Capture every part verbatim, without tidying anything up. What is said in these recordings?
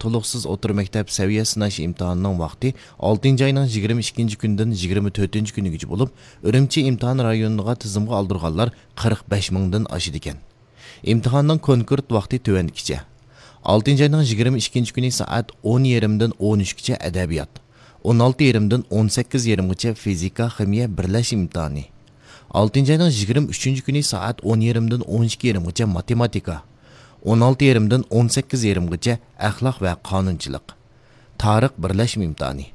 تولۇقسىز ئوتتۇرا مەكتەپ سەۋىيە سىناش ئىمتىھانىنىڭ ۋاقتى ئالتىنچى ئاينىڭ يىگىرمە ئىككىنچى كۈنىدىن يىگىرمە تۆتىنچى كۈنىگىچە بولۇپ، ئۈرۈمچى ئىمتىھان رايونىغا تىزىمغا ئالدۇرغانلار قىرىق بەش مىڭدىن ئاشىدىكەن. ئىمتىھاننىڭ كونكرېت ۋاقتى تۆۋەندىكىچە: ئالتىنچى ئاينىڭ يىگىرمە ئىككىنچى كۈنى سائەت ئون يېرىمدىن ئون ئۈچكىچە ئەدەبىيات، ئون ئالتە يېرىمدىن ئون سەككىز يېرىمغىچە فىزىكا، خىمىيە بىرلەشمە ئىمتىھانى، ئالتىنچى ئاينىڭ يىگىرمە ئۈچىنچى كۈنى سائەت ئون يېرىمدىن ئون ئىككى يېرىمغىچە ماتېماتىكا، ئون ئالتە يېرىمدىن ئون سەككىز يېرىمغىچە ئەخلاق ۋە قانۇنچىلىق، تارىخ بىرلەشمە ئىمتىھانى،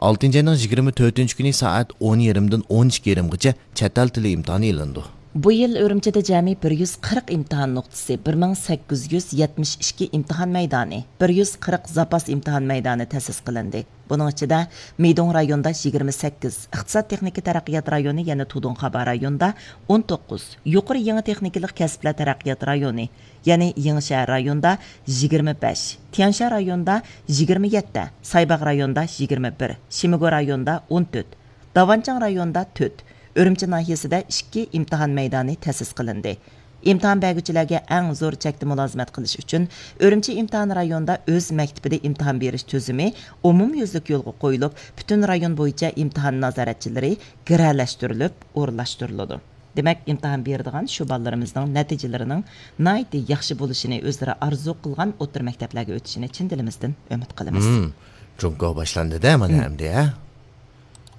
ئالتىنچى ئاينىڭ يىگىرمە تۆتىنچى كۈنى سائەت ئون يېرىمدىن ئون ئىككى يېرىمغىچە چەت ئەل تىلى ئىمتىھانى ئېلىنىدۇ. بۇ يىل ئۈرۈمچىدە جەمئىي بىر يۈز قىرىق ئىمتىھان نۇقتىسى، بىر مىڭ سەككىز يۈز يەتمىش ئىككى ئىمتىھان مەيدانى، بىر يۈز قىرىق زاپاس ئىمتىھان مەيدانى تەسىس قىلىندى. بۇنىڭ ئىچىدە مىدوڭ رايونىدا يىگىرمە سەككىز، ئىقتىساد تېخنىكا تەرەققىيات رايونى، يەنى تۇدۇڭخابا رايونىدا ئون توققۇز، يۇقىرى يېڭى تېخنىكىلىق كەسىپلەر تەرەققىيات رايونى، يەنى يېڭىشەھەر رايونىدا يىگىرمە بەش، تيەنشان رايونىدا يىگىرمە يەتتە، سايباغ رايونىدا يىگىرمە بىر، شىمىگو رايونىدا ئون تۆت، داۋانچىڭ رايونىدا تۆت، ئۈرۈمچى ناھىيەسىدە ئىككى ئىمتىھان مەيدانى تەسىس قىلىندى. ئىمتىھان بەرگۈچىلەرگە ئەڭ زور چەكتە مۇلازىمەت قىلىش ئۈچۈن، ئۈرۈمچى ئىمتىھان رايونىدا ئۆز مەكتىپىدە ئىمتىھان بېرىش تۈزۈمى ئومۇميۈزلۈك يولغا قويۇلۇپ، پۈتۈن رايون بويىچە ئىمتىھان نازارەتچىلىرى گىرەلەشتۈرۈلۈپ ئورۇنلاشتۇرۇلىدۇ. دېمەك، ئىمتىھان بېرىدىغان شۇ بالىلىرىمىزنىڭ نەتىجىلىرىنىڭ ناھايىتى ياخشى بولۇشىنى، ئۆزلىرى ئارزۇ قىلغان ئوتتۇرا مەكتەپلەرگە ئۆتۈشىنى چىن دىلىمىزدىن ئۈمىد قىلىمىز. مم. جۇڭگو باشلاندى-دە مانا ئەمدى، ھە؟